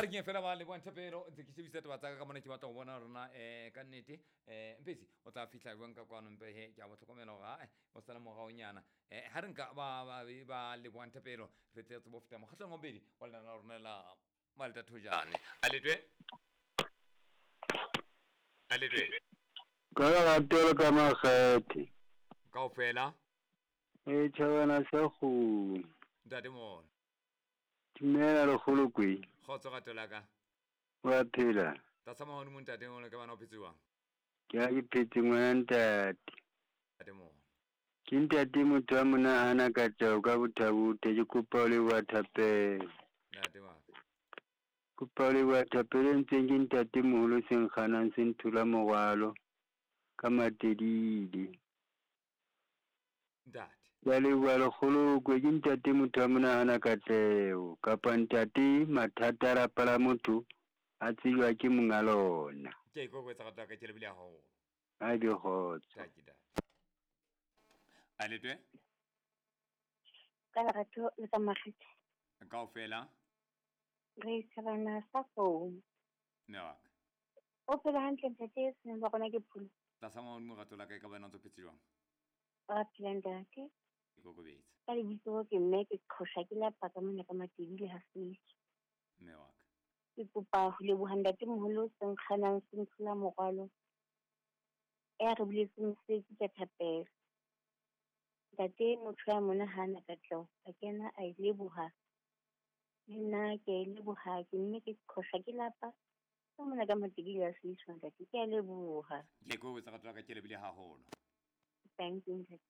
A re keng fela ba leboang thapelo ntse ke shebisa taba tsa ka ka mona, ke batla go bona rona ka nnete mpetsi o tla fihla jwang ka kwano, mpe he ke a bo tlhokomela gore ae o sala moraonyana. Ha re nka ba leboang thapelo re tle re tsebe ho feta mokgatlong wa bobedi wa lenane la rona la Malta Thojane. A letwe, a letwe. Ka lerato le ka makgethe. Kaofela. E tjhabana sa kgomo. Ntate Mono. Dumela lekgolokwe. Kgotso rato la ka. Wa phela? Tlasa mahodimo ntate Mono, ke bana o phetse jwang? Ke ha ke phetse ngwana ntate. Ntate Mono. Ke ntate motho a monahana ka tjao ka bothabothe, ke kopa ho leboha thapelo. Ntate wa ka. Kopa ho leboha thapelo e ntseng ke ntate moholo se nkganang se nthola morwalo ka matedile. Ntate. Ke a leboha lekgolokwe, ke ntate motho a monahana katleho kapa ntate mathata a lapa la motho a tsejwa ke monga lona. Ke a ikokobetsa rato la ka, ke lebile haholo. A be kgotso. Taki ntate. A letwe. Ka lerato le ka makgethe. Kaofela. Re thabana sa phone. Mme wa ka. O phela hantle ntate, senang ba rona ke pholo. Tlasa mahodimo rato la ka, e ka ba ena o ntso phetse jwang? Wa phela ntate. Ikokobetse. Ka lebitso ke mme ke qhosha ke lapa ka mona ka Matebile ha Setso. Mme wa ka. Ke kopa ho leboha ntate moholo se nkganang se nthola morwalo. Ya re buletseng mosebetsi ka thapelo. Ntate motho ya mona hana katleho a kena a e leboha. Le nna ke a e leboha, ke mme ke qhosha ke lapa ka mona ka Matebile ha Setso ntate, ke a leboha. Ke ikokobetsa rato la ka, ke lebile haholo. Thank you ntate.